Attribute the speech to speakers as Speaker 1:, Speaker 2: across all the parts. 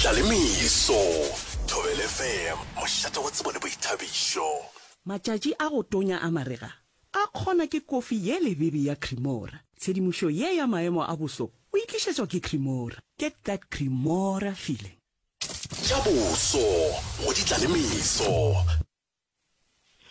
Speaker 1: Ditlalemeso, Thobela FM, mošate wa tsebo le boithabišo.
Speaker 2: Matšatši a go tonya a marega a kgona ke kofi ye lebebe ya Cremora. Tshedimošo ye ya maemo a boso o e tlišetšwa ke Cremora. Get that Cremora feeling.
Speaker 1: Tša boso go ditlalemeso.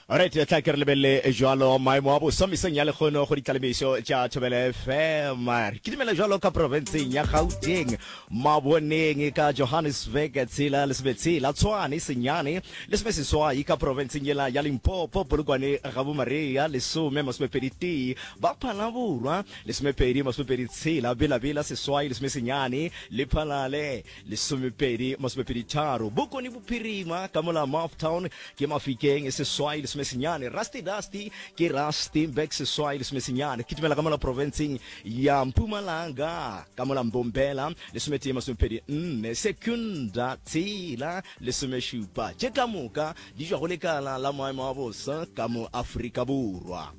Speaker 3: Alright, tla ke re lebelele jwalo maemo a boso mesong ya lekgono go ditlalemišo tša Thobela FM. Re kitimela jwalo ka profenseng ya Gauteng, Maboneng ka Johannesburg, tshela lesometshela, Tshwane senyane lesomeseswai ka profenseng yela ya Limpopo, Polokwane ga Bomaria lesome masomepedi tee, ba Phalaborwa lesomepedi masomepedi tshela, Bela-Bela seswai lesomesenyane, Lephalale Lesomepedi masomepedi tharo, Bokone Bophirima ka mola Maftown ke Mafikeng seswai lesomesenyane, Rusty Dusty ke Rustenburg seswai lesomesenyane, kitimela ka mola profenseng ya Mpumalanga ka mola Mbombela lesometee masomepedi nne, Secunda tshela lesomešupa. Tše ka moka di tšwa go lekala la maemo a bosa ka mo Afrika Borwa.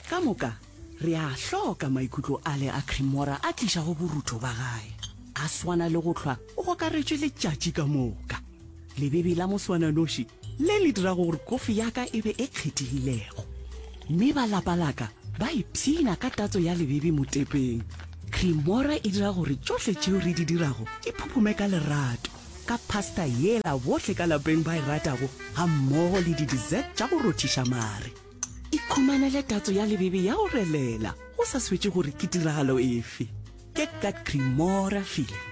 Speaker 2: Ka moka re a hloka maikutlo ale a Cremora a tlišago borutho ba gae. A swana le go hlwa o gokaretšwe letšatši ka moka. Lebebe la moswananoši le le dirago gore kofi ya ka e be e kgethegilego. Mme ba lapa la ka ba ipshina ka tatso ya lebebe motepeng. Cremora e dira gore tšohle tšeo re di dirago di phuphume ka lerato, ka pasta yela bohle ka lapeng ba e ratago gammogo le di-dessert tša go rothiša mare. Ikhumanele tatso ya lebebe ya go relela go sa swetše gore ke tiragalo efe. Get that Cremora feeling.